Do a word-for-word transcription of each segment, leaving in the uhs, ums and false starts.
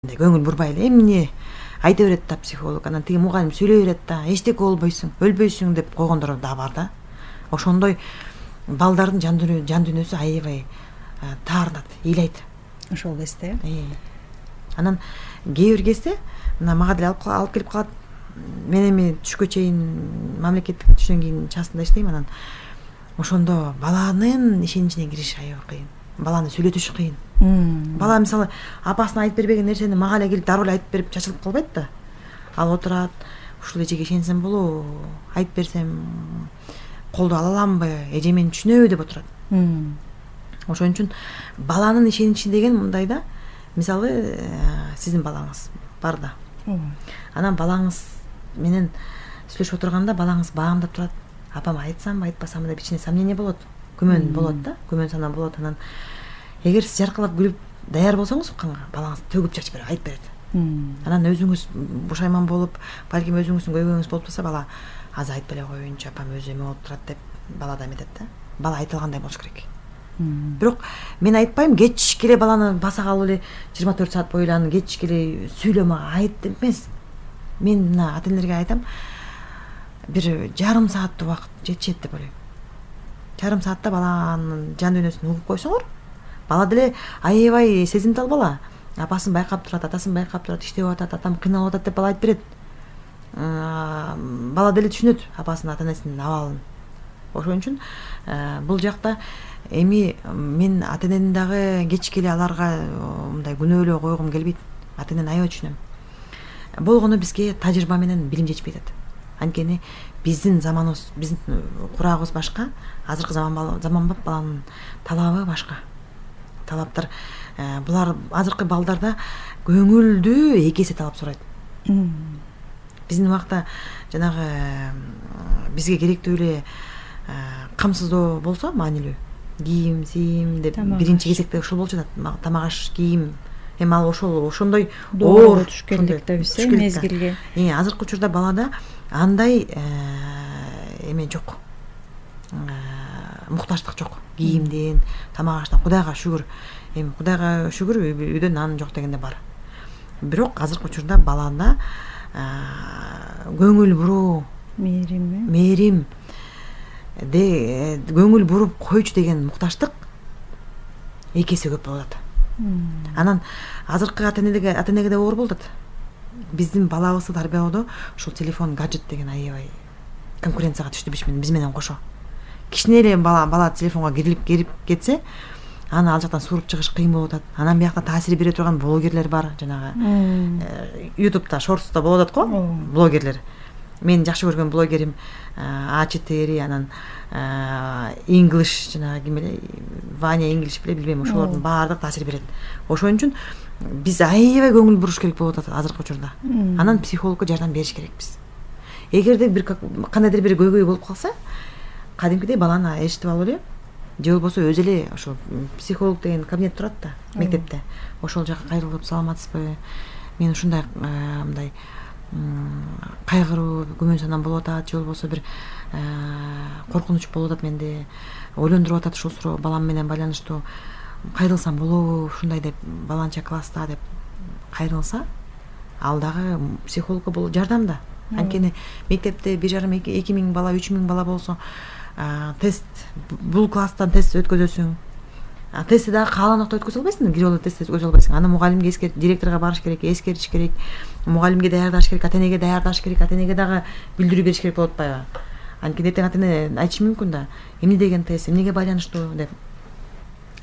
көңүл бурбай эле эмне айта берет да психолог. Анан тиги мугалим сүйлөй берет да, эчтеке болбойсуң, өлбөйсүң деп койгондор да бар да. Ошондой балдардын жан дүйнө жан дүйнөсү аябай таарынат, ыйлайт. Ошол кезде. Анан кээ бир кезде мына мага деле алып алып келип калат. Мен эми түшкө чейин мамлекеттик түштөн кийин частында иштейм. Анан ошондо баланын ишеничине кириш аябай кыйын. Баланы сүйлөтүш кыйын. Бала мисалы апасына айтып бербеген нерсени мага эле келип дароо эле айтып берип чачылып калбайт да. Ал отурат, ушул эжеге ишенсем болобу, айтып берсем колдо ала аламбы, эже мени түшүнөбү деп отурат. Ошон үчүн баланын ишеничи деген мындай да, мисалы сиздин балаңыз бар да. Анан балаңыз менен сүйлөшүп отурганда балаңыз баамдап турат. Апама айтсамбы, айтпасамбы деп ичине сомнение болот, күмөн болот да, күмөн сана болот. Анан эгер сиз жаркырап күлүп даяр болсоңуз укканга, балаңыз төгүп чачып берип айтып берет. Анан өзүңүз бушайман болуп, балким өзүңүздүн көйгөйүңүз болуп турса, бала азыр айтпай эле коеюнчу, апам өзү эме болуп турат деп бала да эметет да. Бала айтылгандай болуш керек. Бирок мен айтпайм, кечке эле баланы баса калып эле жыйырма төрт саат бою эле аны кечке эле сүйлө мага айт деп эмес. Мен мына ата энелерге айтам, бир жарым сааттык убакыт жетишет деп ойлойм. Жарым саатта баланын жан дүйнөсүн угуп койсоңор, бала деле аябай сезимтал бала. Апасын байкап турат, атасын байкап турат, иштеп атат, атам кыйналып атат деп бала айтып берет. Бала деле түшүнөт апасынын, ата энесинин абалын. Ошон үчүн бул жакта эми мен ата энени дагы кечке эле аларга мындай күнөөлөө койгум келбейт. Ата энени аябай түшүнөм. Болгону бизге тажрыйба менен билим жетишпей атат. Анткени биздин заманыбыз, биздин курагыбыз башка, азыркы заман заманбап баланын талабы башка. Талаптар булар азыркы балдарда көңүлдү эки эсе талап сурайт. Биздин убакта жанагы бизге керектүү эле камсыздоо болсо, маанилүү кийим, сийим деп биринчи кезекте ушул болчу да, тамак аш, кийим. Эми ал ошол ошондой оор түшкөнлүк да биз мезгилге. Азыркы учурда балада андай эме жок. Муктаждык жок. Кийимден, тамак аштан Кудайга шүгүр. Эми Кудайга шүгүр, үйдө нан жок дегенде бар. Бирок азыркы учурда балада көңүл буруу, мээрим, мээрим де көңүл буруп койчу деген муктаждык эки эсе көп болот. Анан азыркы ата энеге ата энеге да оор болот. Биздин балабызды тарбиялоодо ушул телефон, гаджет деген аябай конкуренцияга түштү биз менен кошо. Кичине эле бала бала телефонго кирилип кирип кетсе, аны ал жактан сууруп чыгыш кыйын болуп атат. Анан биякта таасир бере турган блогерлер бар, жанагы ютубта, шортста болуп атат го, блогерлер. Мен жакшы көргөн блогерим а четыре, анан English, жанагы ким эле, Ваня English беле билбейм, ошолордун баардык таасир берет. Ошон үчүн биз аябай көңүл буруш керек болуп атат азыркы учурда. Анан психологко жардам бериш керекпиз. Эгерде бир кандайдыр бир көйгөй болуп калса, кадимкидей баланы ээрчитип алып эле, же болбосо өзү эле ошол психолог деген кабинет турат да мектепте. Ошол жака кайрылып, саламатсызбы? Мен ушундай мындай кайгыруу, күмөн санам болуп атат, же болбосо бир коркунуч болуп атат менде, ойлондуруп атат ушул суроо балам менен байланыштуу. Кайрылсам болобу, ушундай деп, баланча класста деп кайрылса, ал дагы психологко бул жардам да. Анткени мектепте бир жарым эки миң бала, үч миң бала болсо, тест, бул класстан тест өткөзөсүң. Тестти дагы каалааныкта өткөзө албайсың, кирип алып тест өткөзө албайсың. Аны мугалимге эскерт, директорго барыш керек, эскертиш керек, мугалимге даярдаш керек, ата энеге даярдаш керек, ата энеге дагы билдирүү бериш керек болуп атпайбы? Анткени эртең ата эне айтышы мүмкүн да, эмне деген тест, эмнеге байланыштуу деп.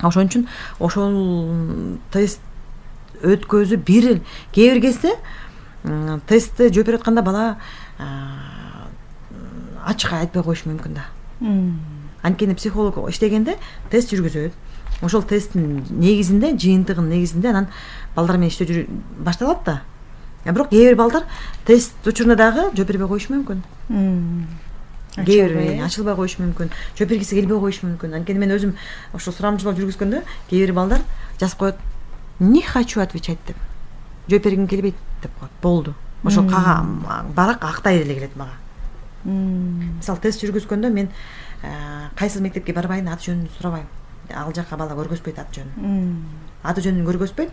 Ошон үчүн ошол тест өткөзүп бир кээ бир кезде тестти жооп берип атканда бала ачык айтпай коюшу мүмкүн да. Анткени психолог иштегенде тест жүргүзөт. Ошол тесттин негизинде, жыйынтыгынын негизинде анан балдар менен иштөө башталат да. Бирок кээ бир балдар тест учурунда дагы жооп бербей коюшу мүмкүн. Кээ бир ачылбай коюшу мүмкүн, жооп бергиси келбей коюшу мүмкүн. Анткени мен өзүм ошол сурамжылоо жүргүзгөндө кээ бир балдар жазып коет, не хочу отвечать деп. Жооп бергим келбейт деп коет. Болду. Ошол кага барак актай эле келет мага. Мисалы тест жүргүзгөндө мен кайсы мектепке барбайын, аты жөнүн сурабайм. Ал жака бала көргөзбөйт аты жөнүн. Аты жөнүн көргөзбөйт.